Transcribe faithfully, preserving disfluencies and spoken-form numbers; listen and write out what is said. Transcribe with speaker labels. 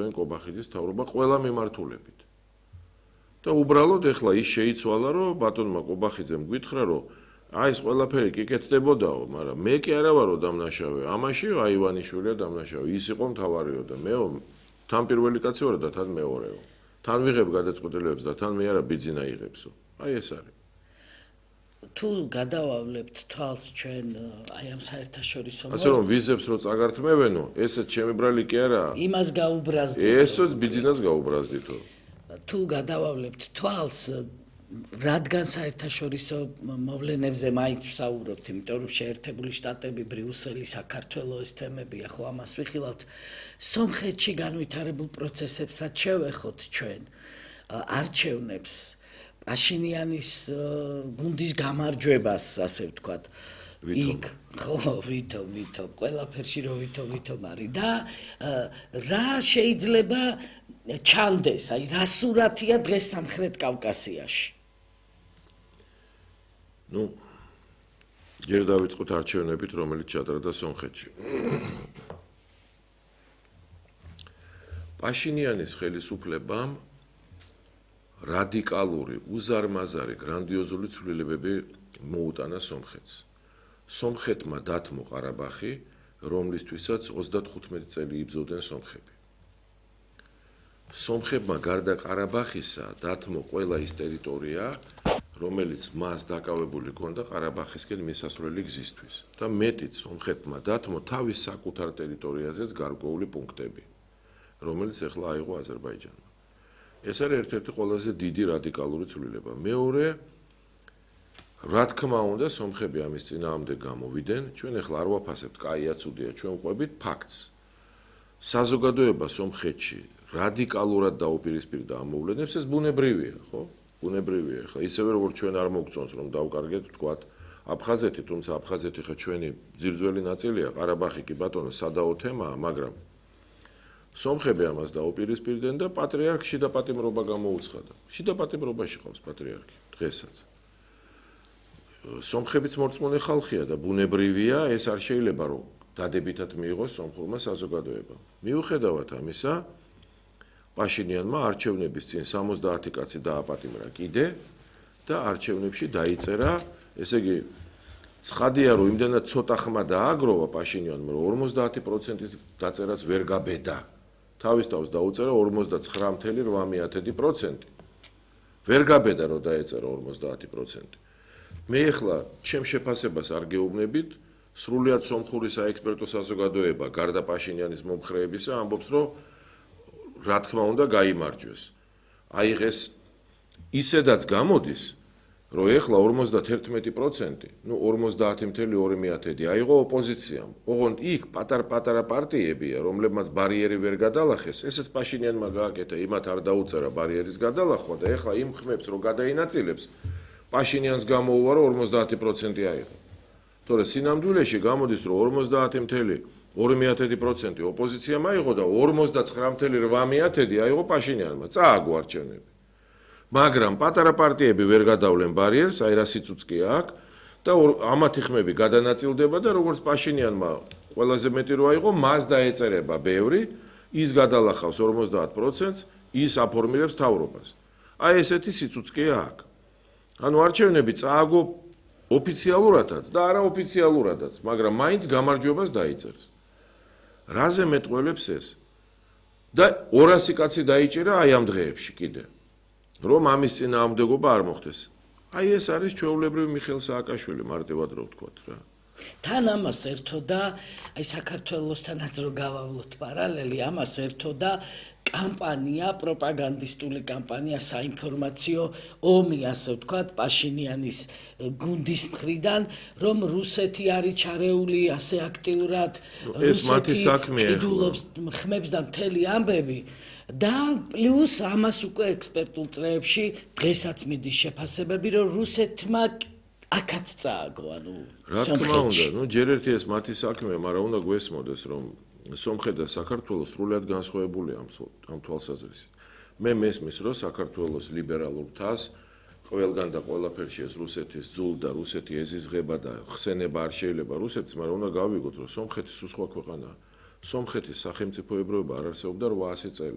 Speaker 1: აწარმოებდნენ კობახიძის მთავრობა ყველა მიმართულებით. და უბრალოდ ეხლა ის შეიცვალა, რომ ბატონმა კობახიძემ გითხრა, რომ აი ეს ყველაფერი კი კეთდებოდაო, მაგრამ მე კი არა ვარო დამნაშავე. ამაში აი ივანიშვილია დამნაშავე. ის იყო მთავარიო და მეო თან პირველი კაცი ვარ და თან მეორეო. თან ვიღებ გადაწყვეტილებებს და თან მე არა ბიძინა იღებსო. აი ეს არის.
Speaker 2: თუ გადავავლებთ თვალს ჩვენ აი ამ საერთაშორისო
Speaker 1: ასე რომ ვიზებს რო წაგართმევენო, ესეც ჩემი ბრალი კი არაა.
Speaker 2: იმას გაუბრაზდით.
Speaker 1: ესეც ბიძინას გაუბრაზდითო.
Speaker 2: თუ გადავავლებთ თვალს რადგან საერთაშორისო მოვლენებზე მაინც ვსაუბრობთ, იმიტომ რომ შეერთებული შტატები, ბრიუსელი, საქართველოს ეს თემებია, ხო ამას ვიხილავთ. სომხეთში განვითარებულ პროცესებსაც შევეხოთ ჩვენ არჩევნებს, პაშინიანის გუნდის გამარჯვებას, ასე ვთქვათ. იქ ხო, ვითომ, ვითომ, ყველაფერში რო ვითომ, ვითომ არის და რა შეიძლება ჩანდეს, აი რა სურათია დღეს სამხრეთ კავკასიაში.
Speaker 1: ნუ ჯერ დავიწყოთ არჩევნებით, რომელიც ჩატარდა სომხეთში. პაშინიანის ხელისუფლებამ რადიკალური, უზარმაზარი, გრანდიოზული ცვლილებები მოუტანა სომხეთს. სომხეთმა დათმო ყარაბაღი, რომლისთვისაც ოცდათხუთმეტი წელი იბრძოდნენ სომხები. სომხებმა გარდა ყარაბაღისა დათმო ყველა ის ტერიტორია, რომელიც მას დაკავებული ჰქონდა ყარაბაღისკენ მისასვლელი გზისთვის და მეტიც სომხეთმა დათმო თავის საკუთარ ტერიტორიაზეც გარკვეული პუნქტები, რომელიც ახლა აიღო აზერბაიჯანმა. ეს არის ერთ-ერთი ყველაზე დიდი რადიკალური ცვლილება. მეორე, რა თქმა უნდა, სომხები ამის წინააღმდეგ გამოვიდნენ. ჩვენ ახლა არ ვაფასებთ, კაია, ცუდია, ჩვენ ვყვებით ფაქტს. საზოგადოება სომხეთში რადიკალურად დაუპირისპირდა ამ მოვლენებს, ეს ბუნებრივია, ხო? ბუნებრივია. ახლა ისევე როგორც ჩვენ არ მოგწონს, რომ დავკარგეთ, ვთქვათ, აფხაზეთი, თუმცა აფხაზეთი ხა ჩვენი ძირძველი ნაწილია, ყარაბაღი კი ბატონო სადაო თემაა, მაგრამ სომხები ამას დაუპირისპირდნენ და პატრიარქ შიდა პატიმრობა გამოუცხადა. შიდა პატიმრობაში ყავს პატრიარქი დღესაც. სომხებიც მორწმუნე ხალხია და ბუნებრივია, ეს არ შეიძლება რომ დადებითად მიიღოს სომხურმა საზოგადოებამ. მიუხედავად ამისა, პაშინიანმა არჩევნების წინ სამოცდაათი კაცი დააპატიმრა კიდე და არჩევნებში დაიწერა, ესე იგი, ცხადია რომ იმდენად ცოტა ხმა დააგროვა პაშინიანმა, რომ ორმოცდაათი პროცენტის დაწერაც ვერ გაბედა. თავის თავს დაუწერა ორმოცდაცხრა წუთი რვა პროცენტი. ვერ გაბედა რომ დაეწერა ორმოცდაათი პროცენტი. მე ახლა ჩემ შეფასებას არ გეუბნებით, სრულიად სომხური საექსპერტო საზოგადოება გარდა პაშინიანის მომხრეებისა ამბობს, რომ რა თქმა უნდა გაიმარჯვეს. აიღეს ისედაც გამოდის, რომ ეხლა ორმოცდაერთი პროცენტი, ნუ ორმოცდაათი წუთი ორი აიღო ოპოზიციამ. ოღონდ იქ პატარ-პატარა პარტიებია, რომლებმაც ბარიერი ვერ გადალახეს, ესეც პაშინიანმა გააკეთა, იმათ არ დაუწერა ბარიერის გადალახვა და ეხლა იმ ხმებს რო გადაინაწილებს, პაშინიანს გამოუვა, რომ ორმოცდაათი პროცენტი აიღო. თორე სინამდვილეში გამოდის, რომ ორმოცდაათი წუთი ორი პროცენტი ოპოზიციამ აიღო და ორმოცდაცხრა წუთი რვა აიღო პაშინიანმა. წააგო არჩევნები. მაგრამ პატარა პარტიები ვერ გადავლენ ბარიერს, აი რა სიცოცხლე აქვს და ამათი ხმები გადანაწილდება და როგორც პაშინიანმა ყველაზე მეტი რო აიღო, მას დაეწერება ბევრი, ის გადალახავს ორმოცდაათ პროცენტს, ის აფორმირებს თავრობას. აი ესეთი სიცოცხლე აქვს. ანუ არჩევნები წააგო ოფიციალურადაც და არაოფიციალურადაც, მაგრამ მაინც გამარჯვებას დაიწერს. რაზე მეტყველებს ეს? და ორასი კაცი დაიჭირა აი ამ დღეებში კიდე. რომ ამის წინააღმდეგობა არ მოხდეს. აი ეს არის ჩვეულებრივი მიხეილ სააკაშვილი, მარტივად რო ვთქვათ რა.
Speaker 2: თან ამას ერთოდა, აი საქართველოსთანაც რო გავავლოთ პარალელი, ამას ერთოდა კამპანია, პროპაგანდისტული კამპანია, საინფორმაციო ომი, ასე ვთქვათ, პაშინიანის გუნდის მხრიდან, რომ რუსეთი არის ჩარეული ასე აქტიურად,
Speaker 1: რუსეთი
Speaker 2: ყიდულობს ხმებს და მთელი ამბები. და პლუს ამას უკვე ექსპერტულ წრეებში დღესაც მიდის შეფასებები, რომ რუსეთმა აქაც წააგო, ანუ
Speaker 1: რა თქმა უნდა, ნუ ჯერ ერთი ეს მათი საქმეა, მაგრამ უნდა გვესმოდეს, რომ სომხეთ და საქართველო სრულიად განსხვავებულია ამ თვალსაზრისით. მე მესმის, რომ საქართველოს ლიბერალურ თას ყველგან და ყველაფერში ეს რუსეთის ძულ და რუსეთი ეზიზღება და ხსენება არ შეიძლება რუსეთს, მაგრამ უნდა გავიგოთ, რომ სომხეთი სულ სხვა ქვეყანაა. სომხეთის სახელმწიფოებრიობა არ არსებობდა რვაასი წელი.